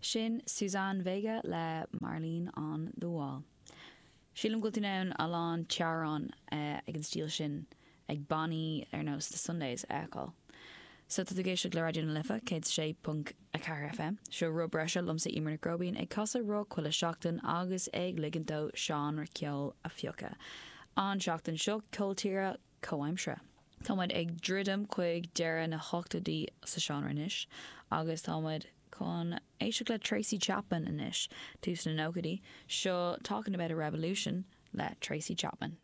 Sin Suzanne Vega le Marlene on the Wall. Sílim go bhfuil tú in ann a lán teaghrán ag an stíl sin ag bannaí ar nós The Sundays a fheiceáil. So tá tú ag éisteacht le Raidió na Life 106.4 FM. Seo Rud Breise liomsa Eimear Nic Róibín ag casadh rock chuile seachtain agus ag ligint dó seánra ceoil a phiocadh. An seachtain seo ceol tíre comhaimseartha. Tá muid ag druidim chuig deireadh na hochtóidí sa seánra anois agus tá muid chun éisteacht le Tracy Chapman anois, tús na nóchaidí. Seo Talking About a Revolution le Tracy Chapman.